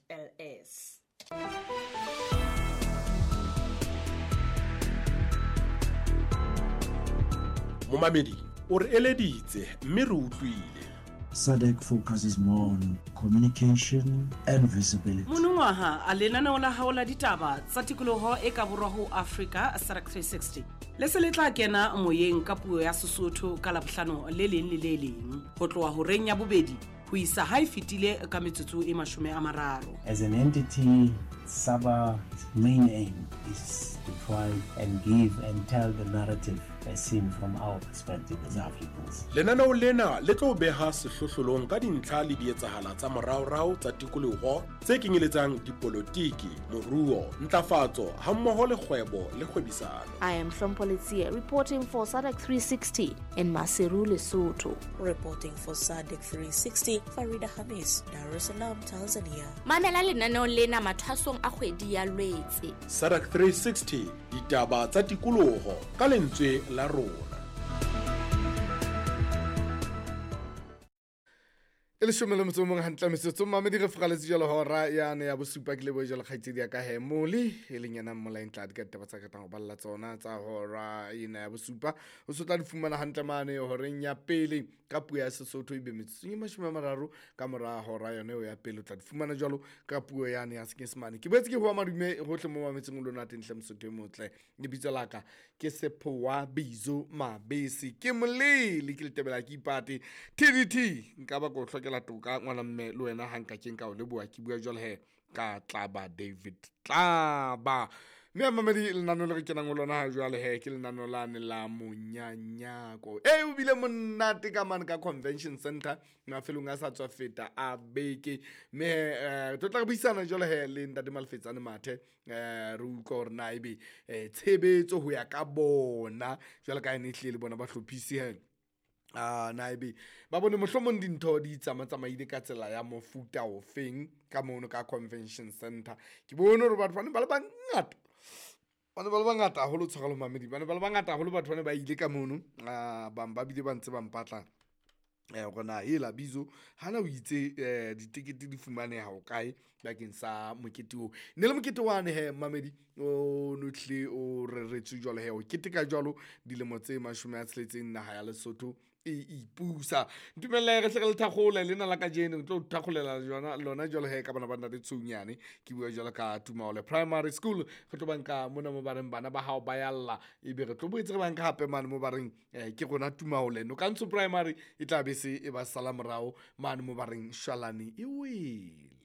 ls. Momamedi o re eleditse mme re utlwile. SADC focuses more on communication and visibility. Monongwaha a lenaneo la hao la ditaba tsa tikoloho e ka borwa ho Afrika SADC 360 le se le tla kena moyeng ka puo ya Sesotho ka Labohlano le leng le le leng ho tloha horeng ya bobedi ho isa ha e fetile ka metsotso e 30. As an entity, SABA's main aim is to try and give and tell the narrative as seen from our perspective as Africans. Lenaneo lena le tlo beha sehlohlolong ka dintlha le dietsahala tsa moraorao tsa tikoloho tse kenyeletsang dipolotiki, moruo, ntlafatso hammoho le kgwebo le kgwebisano. I am Hlompho Letsie reporting for SADC 360 in Maseru, Lesotho. Reporting for SADC 360, Farida Hamis, Dar es Salaam, Tanzania. Mamela lenaneo lena mathwasong a kgwedi ya Lwetse. SADC 360, ditaba tsa tikoloho ka lentswe la rona. E leshome le motso o mong hantle metsotso mamedi re furaletse jalo hora yane ya bosupa ke leboe jalo kgaitsedi ya ka he mole e leng yena mmolaeng tla di ka ditaba tsa ratang ho balla tsona tsa hora ena ya bosupa o se tla di fumana hantle mane horeng ya pele ka puo ya Sesotho ebe metsotsong e 30 ka mora hora yone eo ya pele o tla di fumana jalo ka puo yane ya Senyesemane. Ke boetse ke hoa madume hohle mo mametseng o lona teng hle Mosotho e motle. Lebitso la ka ke Sephowa Bizo Mabese ke molele ke letebela ke ipate TDT nka ba ko hlokela toka ngwana mme le wena ha nka ke nka o leboha ke bua jwale he ka Tlaba David Tlaba. Mme a mamedi lenano le re kenang ho lona ha jwale he ke lenano lane la monyanyako e o bile monate ka mane ka convention center mafelong a sa tswa feta a beke. Mme re tlo tla re buisana jwale he le ntate Malefetsane Mathe re utlwa hore na ebe tshebetso ho ya ka bona jwale ka ene ehlile le bona ba hlophisi he na ebe ba bone mohlomong dintho di tsamatsamaile ka tsela ya mofuta ofeng ka mono ka convention center. Ke bone hore batho ba ne ba le bangata, ba ne ba le bangata haholo tshwarelo mamedi, ba ne ba le bangata haholo batho ba ne ba ile ka mono, bang ba bile ba ntse ba mpatla hore na hela Bizo hana o itse ditekete di fumaneha ho kae bakeng sa mokete oo. Ne le mokete wane he mamedi o no tlile o reretswe jwalo he o keteka jwalo dilemo tse 60 naha ya Lesotho e ipusa. Ntumelle re hle re le thakgole lena la kajeno tlo thakgolela jona lona jwalo he ka bana ba ntate Tsounyane ke bua jwalo ka Tumaole Primary School. Re tlo banka mona mo ba reng bana ba hao ba yalla ebe re tlo boetse re banka hape mane mo ba reng ke rona Tumaole Nokantsho Primary e tla be se e ba sala morao mane mo ba reng Shwalane e wele.